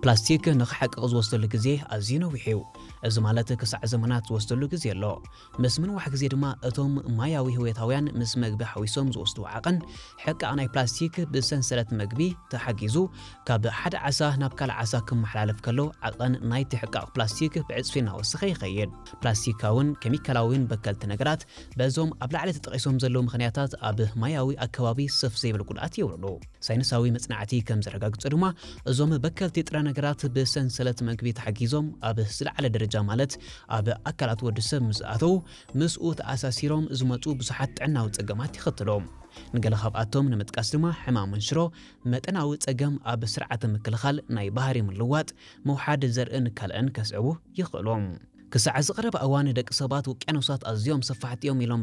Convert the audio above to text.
ፕላስቲክ ንኽሓቅቕ ዝወስደሉ ግዜ ኣዝዩ ነዊሕ እዩ። እዚ ማለት ክሳዕ ዘመናት ዝወስደሉ ግዜ ኣሎ። ምስ ምንዋሕ ግዜ ድማ እቶም ማያዊ ህይወታውያን ምስ መግቢ ሓዊሶም ዝወስዱ ዓቐን፣ ሕቃቕ ናይ ፕላስቲክ ብሰንሰለት መግቢ ተሓጊዙ ካብ ሓደ ዓሳ ናብ ካልእ ዓሳ ክመሓላለፍ ከሎ፣ ዓቐን ናይቲ ሕቃቕ ፕላስቲክ ብዕጽፊ እናወሰኸ ይኸይድ። ፕላስቲካውን ኬሚካላውን በከልቲ ነገራት በዞም ኣብ ላዕሊ ተጠቒሶም ዘለዉ ምኽንያታት ኣብ ማያዊ ኣከባቢ ሰፍ ዘይብል ጉድኣት የውርዱ። ሳይንሳዊ መጽናዕቲ ከም ዘረጋግጾ ድማ፣ እዞም በከልቲ ጥረ ነገራት ብሰንሰለት መግቢ ተሓጊዞም ኣብ ዝለዓለ ደረጃ፣ ማለት ኣብ ኣካላት ወዲ ሰብ ምስ ኣተዉ፣ ምስኡ ተኣሳሲሮም ዝመጹ ብዙሓት ጥዕናዊ ጸገማት የኸትሉ። ንገለ ካብኣቶም ንምጥቃስ ድማ፣ ሕማም መንሽሮ፣ መጠናዊ ጸገም ኣብ ስርዓተ ምክልኻል፣ ናይ ባህሪ ምልዋጥ፣ ምውሓድ ዘርእን ካልእን ከስዕቡ ይኽእሉ። ክሳዕ ዝቐረበ እዋን፣ ደቂ ሰባት ውቅያኖሳት ኣዝዮም ሰፋሕቲ እዮም ኢሎም